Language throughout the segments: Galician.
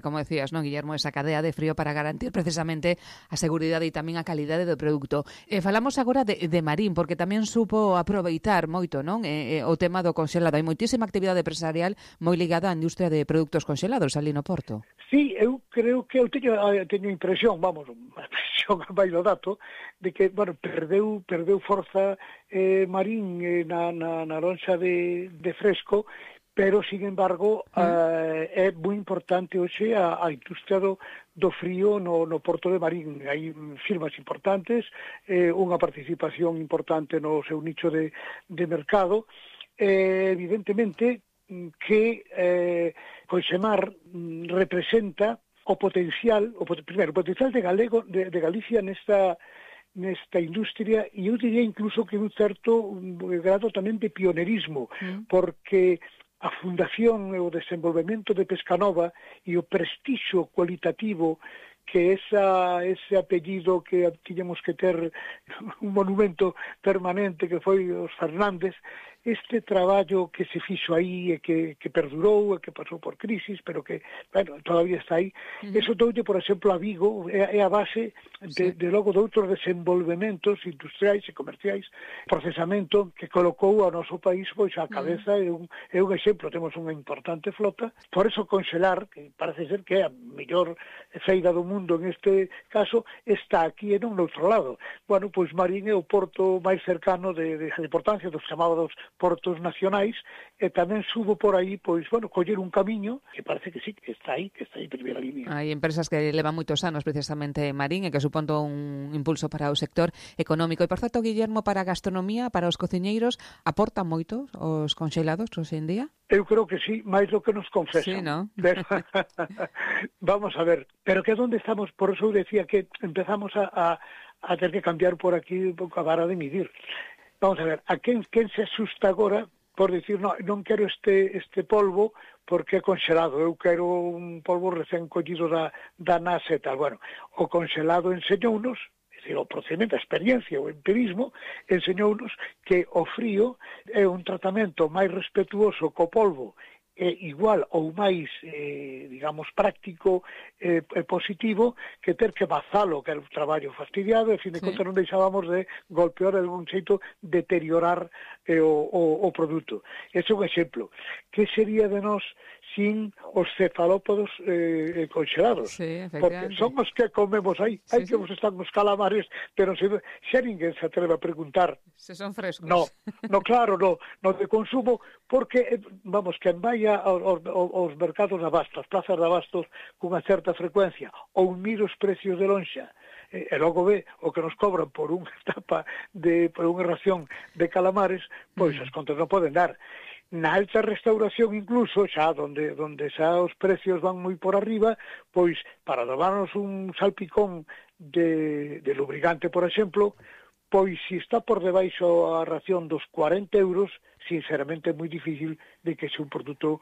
Como decías, non, Guillermo, esa cadea de frío para garantir precisamente a seguridade e tamén a calidade do produto. Falamos agora de Marín, porque tamén supo aproveitar moito, non, o tema do conxelado. Hai moitísima actividade empresarial moi ligada á industria de produtos conxelados ali no Porto. Sí, eu creo que eu teño impresión, vamos, a impresión a máis do dato, de que, bueno, perdeu forza Marín na lonxa de Fresco, pero, sin embargo, é moi importante hoxe a industria do frío no Porto de Marín. Hai firmas importantes, unha participación importante no seu nicho de mercado. Evidentemente que Conxemar representa o potencial, primeiro, o potencial de Galicia nesta industria, e eu diría incluso que un certo grado tamén de pionerismo, porque a fundación e o desenvolvemento de Pescanova e o prestixio cualitativo que ese apellido que tiñamos que ter un monumento permanente que foi os Fernández, este traballo que se fixo aí e que perdurou e que pasou por crisis, pero que, bueno, todavía está aí. Eso doulle, por exemplo, a Vigo, é a base de logo de outros desenvolvementos industriais e comerciais, procesamento que colocou ao noso país pois a cabeza, é un exemplo, temos unha importante flota, por eso Conxelar, que parece ser que é a mellor feira do mundo en este caso, está aquí e non no outro lado. Bueno, pois Marín é o porto máis cercano de importancia dos chamados portos nacionais, e tamén subo por aí, pois, bueno, coller un camiño que parece que sí, que está aí en primeira línea. Hai empresas que levan moitos anos precisamente Marín e que suponto un impulso para o sector económico. E, por certo, Guillermo, para a gastronomía, para os cociñeiros, aportan moito os conxelados hoxe en día? Eu creo que sí, máis do que nos confesan. Sí, ¿no? Pero, vamos a ver, pero que onde estamos, por eso eu decía que empezamos a ter que cambiar por aquí un pouco a vara de medir. Vamos a ver, a quen se asusta agora por dicir, non quero este polvo porque é conxelado, eu quero un polvo recén collido da NASA e tal. Bueno, o conxelado enseñounos, é dicir, o procedimento, a experiencia, o empirismo, enseñounos que o frío é un tratamento máis respetuoso co polvo, é igual ou máis, digamos, práctico e positivo que ter que bazalo, que era un traballo fastidiado, e, fin de contas, non deixábamos de golpear de algún xeito, deteriorar o produto. Ese é un exemplo. Que sería de nós sin os cefalópodos conxelados? Sí, porque son os que comemos aí. Aí que vos están os calamares, pero xa ninguén se atreve a preguntar. Se son frescos. No, claro, no de consumo, porque, vamos, quen vai aos mercados de abastos, as plazas de abastos cunha certa frecuencia, ou mira os precios de lonxa, e logo ve o que nos cobran por unha tapa, por unha ración de calamares, pois as contas non poden dar. Na alta restauración incluso, xa onde xa os precios van moi por arriba, pois para tomarnos un salpicón de lubricante, por exemplo, pois se está por debaixo a ración dos 40 euros, sinceramente é moi difícil de que xe un produto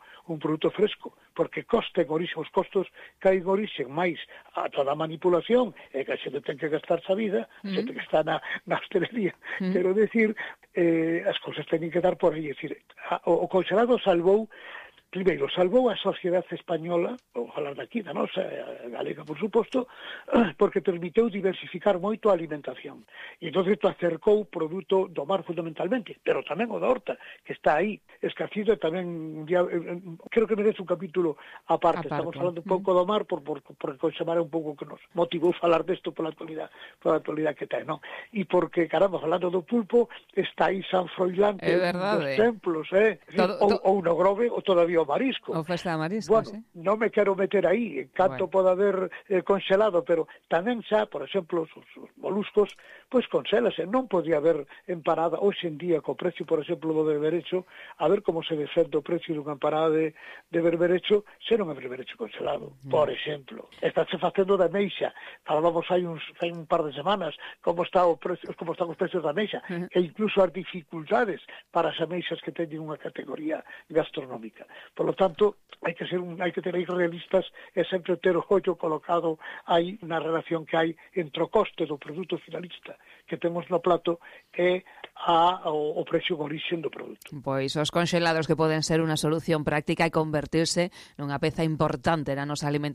fresco, porque costen orixe, os costos caen orixe máis a toda a manipulación, e que a xente ten que gastarse a vida, a xente que está na hostelería, quero decir, as cousas teñen que dar por aí, é dicir, o conxelado salvou a sociedade española, vou falar daqui, da nosa, galega, por suposto, porque permiteu diversificar moito a alimentación. E entón isto acercou o produto do mar fundamentalmente, pero tamén o da horta, que está aí, escacido, e tamén, creo que merece un capítulo aparte. Estamos falando un pouco do mar, porque Conxemar é un pouco que nos motivou falar desto pola actualidade que ten, non? E porque, caramba, falando do pulpo, está aí San Froilán, que é un dos templos, ou no Grove, ou todavía o marisco. O festa de marisco, bueno, non me quero meter aí, canto pode haber conxelado, pero tamén xa, por exemplo, os moluscos, pois conxélase, non podía haber empanada, hoxe en día, co precio, por exemplo, do berberecho, a ver como se defende o precio dunha empanada de berberecho, se non é berberecho conxelado, por exemplo. Estáse facendo da meixa, falábamos hai un par de semanas, como están os precios da meixa, e incluso as dificultades para as ameixas que teñen unha categoría gastronómica. Por lo tanto, hai que ter aí realistas e sempre ter o ollo colocado aí na relación que hai entre o coste do produto finalista que temos no plato e o precio de origen do produto. Pois os conxelados que poden ser unha solución práctica e convertirse nunha peza importante na nosa alimentación